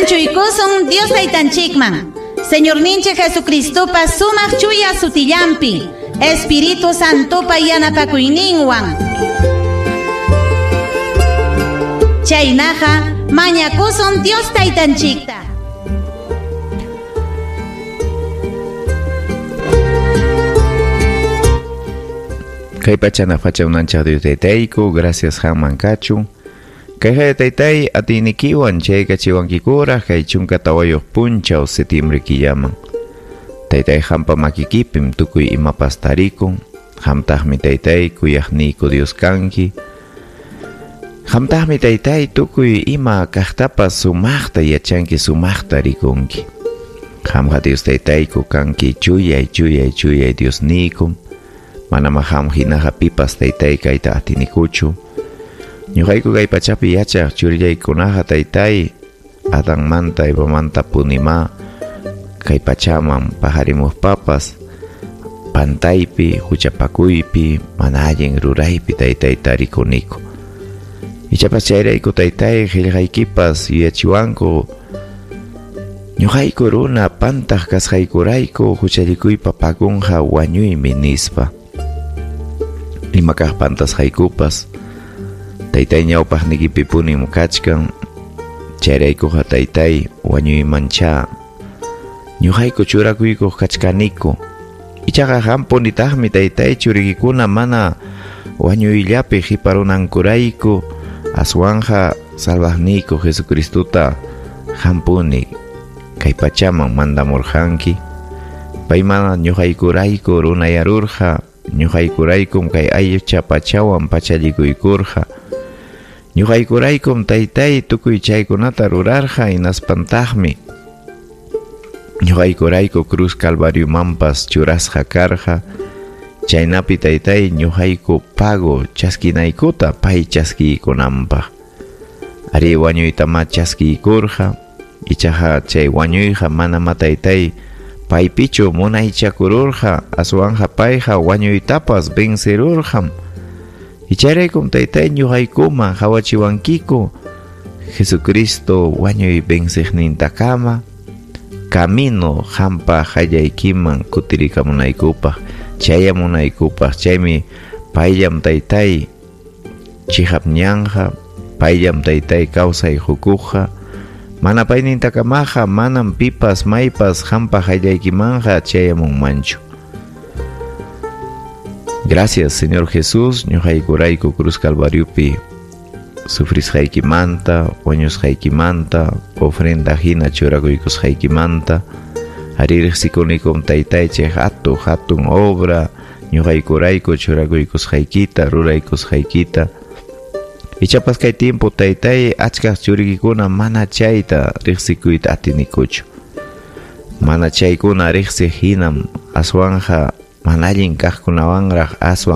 Anchuykusun Dios taytanchikman. Señorninchik Jesucristopa sumaq chuya sutillampi, Espíritu Santopa yanapakuyninwan. Chaynaqa mañakusun Dios taytanchikta. Kay pachana facha unanchaq Dios taytayku, gracias qamman kachun. Kay taytay atiynikiwan chaykachiwankikuraq kay 14 punchaw septiembre killaman. Taytay qampa makikipim tukuy imapas tarikun. Qamtaqmi taytay kuyaqniyku Dios kanki. Qamtaqmi taytay tukuy ima kaqtapas sumaqta yachanki, sumaqta rikunki. Qamqa Dios taytayku kanki chuyay chuyay chuyay Diosniykum. Manama qam hinaqa pipas taytay kayta atinikuchu. Ñuqayku kay pachapi yachaq churillaykunaqa taytay Adanmanta Evamanta punima kay pachaman paqarimuspapas pantaypi, huchapakuypi, mana allin ruraypi taytay tarikuniku. Ichapas chayrayku taytay qillqaykipas yuyachiwanku ñuqayku runa pantaq kasqaykurayku huchallikuypa pagunqa wañuymi nispa. Ima kaq pantasqaykupas taytay ñawpaqnikipi punim kachkan, chayraykuqa taytay wañuymancha ñuqayku churakuykuq kachkaniku. Ichaqa qampunitaqmi taytay churikikuna mana wañuyllapi qiparunankurayku aswanja salvaqniyku Jesucristota qampuni kay pachaman mandamurqanki. Pay mana ñuqaykurayku runayarurqa, ñuqaykuraykum kay aycha pachawan pachallikuykurqa. Ñuqaykuraykum taytay tukuy chaykunata rurarqa hinaspantaqmi ñuqaykurayku cruz calvariomanpas churasqa karqa. Chaynapi taytay ñuqayku pago chaskinaykuta pay chaskiykunanpaq. Ari wañuytama chaskiykurqa, ichaqa chay wañuyqa manama taytay paypichu munaychakururqa, aswanja payqa wañuytapas vencerurqam. Ichayraykum taytay ñuqaykuman hawachiwankiku Jesucristo wañuy venciqnintakama camino qampa qallaykiman kutirikamunaykupaq, chayamunaykupaq. Chaymi payllam taytay chihap ñanja, payllam taytay kawsay hukuqqa. Mana paynintakamaqa manam pipas maypas qampa qallaykimanqa chayamunmanchu. Gracias, Señor Jesús, ñuqaykurayku cruz calvariopi sufrisqaykimanta, wañusqaykimanta, ofrenda hina churakuykusqaykimanta. Ari riqsikunikum taytay chay hatun hatun obra ñuqaykurayku churakuykusqaykita, ruraykusqaykita. Ichapas kay tiempo taytay achkaq churikikuna mana chayta riqsikuyta atinikuchu. Mana chaykuna riqsiq hinam aswanja mana allin kaqkunawanraq aswan